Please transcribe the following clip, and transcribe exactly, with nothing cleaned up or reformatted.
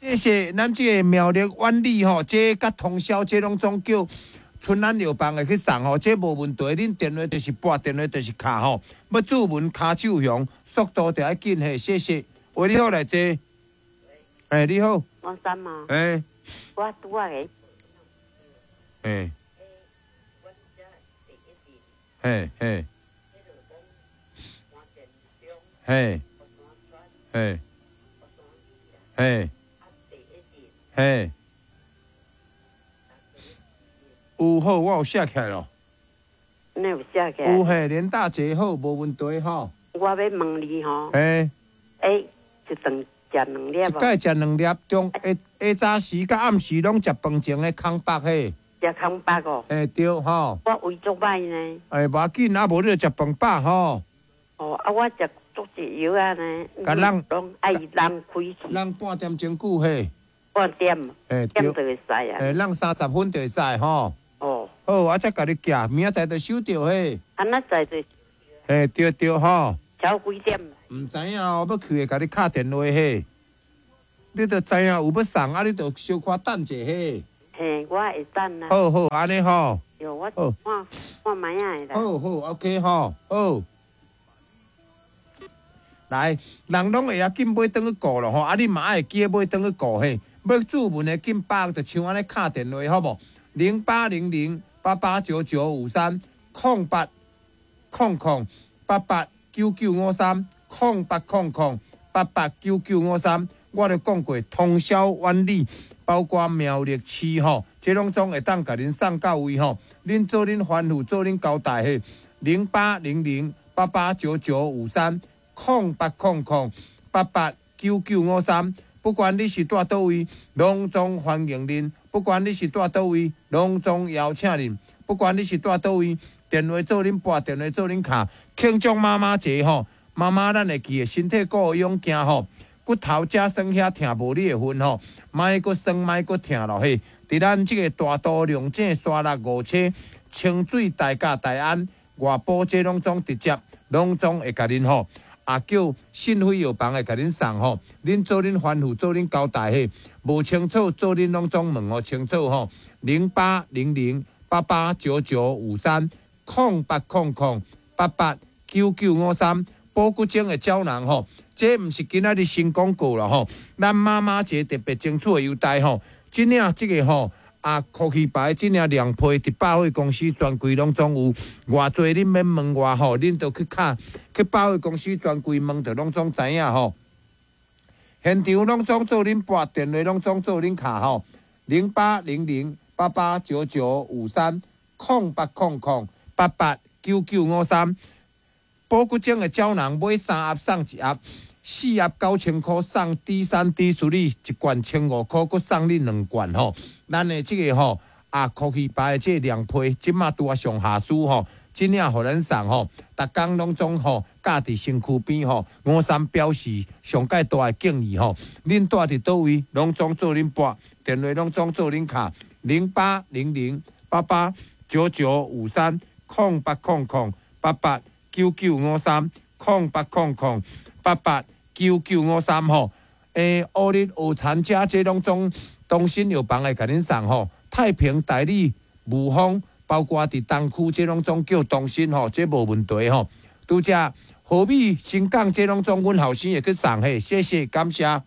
謝謝咱這个苗栗苑里吼，這佮通霄這攏總叫春安藥房會去送吼，這無問題。恁電話就是撥，電話就是敲吼。欲注文跤手雄，速度就愛緊嘿，謝謝。喂，你好，來坐。欸，你好。王三嘛。欸。我拄仔个。欸。嘿嘿。嘿。嘿。嘿。嘿。有好，我有寫起來咯。你有寫起來？有嘿，連大姐好，無問題吼。我欲問你吼。嘿。欸，一頓食兩粒。一擺食兩粒，中下下早時佮暗時攏食飯前的空腹嘿。食空腹哦。欸，對吼。我胃足歹呢。欸，無要緊，啊無你就食飯飽吼。哦，啊，我食足濟藥仔呢。共人攏愛人開去。人半點鐘久嘿。半點。欸，對。點就會使啊。欸，人三十分就會使吼。哦。好，我才共你寄，明仔載就收著嘿。啊，那載就。嘿，對對吼。超幾點？毋知影哦，欲去會共你敲電話嘿。你著知影有欲送，啊，你著小可等者嘿。嘿，我會等啊。好好，按呢吼。喲，我看看覓仔啦。好好，OK 吼，好。來，人攏會曉緊買轉去顧囉吼，啊，你嘛愛會記得買轉去顧嘿。欲注文的緊撥，就像按呢敲電話好無？零八零零八八九九五三空八空空八八九九五三空八空空八八九九五三。我著講過，通霄苑里，包括苗栗市吼，這攏總會當共恁送到位吼。恁做恁吩咐，做恁交代嘿。零八零零八八九九五三空八空空八八九九五三。不管你是蹛佗位，攏總歡迎恁。不管你是蹛佗位，攏總邀請恁。不管你是蹛佗位，電話做恁撥，電話做恁敲。慶祝媽媽節吼，媽媽咱會記得身體顧勇健吼，骨頭遮酸遐疼無你的份吼，莫閣酸莫閣疼咯嘿。佇咱這个大肚龍井沙六五車清水大甲大安外埔這攏總直接攏總會共恁吼。啊，叫信輝藥房會共恁送吼，恁做恁吩咐，做恁交代嘿，無清楚做恁攏總問予清楚吼。零八零零八八九九五三空八空空八八九九五三，保骨精的膠囊吼，這毋是今仔日新廣告啦吼，咱媽媽節特別爭取的優待吼，這領這个吼。啊，科技牌這領涼皮，佇百貨公司專櫃攏總有，偌濟恁免問我吼，恁著去敲去百貨公司專櫃問，就攏總知影吼。現場攏總做恁撥，電話攏總做恁敲吼，零八零零八八九九五三空八空空八八九九五三。保骨精的膠囊買三盒送一盒。四盒九千箍送 D 三 D 處理一罐千五箍，閣送你兩罐吼。咱的這个吼啊，科技牌的這个涼皮，這馬拄仔上下書吼，這領予咱送吼，逐工攏總吼，佮佇身軀邊吼，吳三表示上蓋大的敬意吼。恁蹛佇佗位，攏總做恁撥，電話攏總做恁敲，零八零零八八九九五三空八空空八八九九五三空八空空八八。九九五三吼，欸，烏日烏田遮這攏總東新藥房會共恁送吼，太平大里霧峰，包括佇東區這攏總叫東新吼，這無問題吼。拄才和美新港這攏總阮後生會去送嘿，謝謝感謝。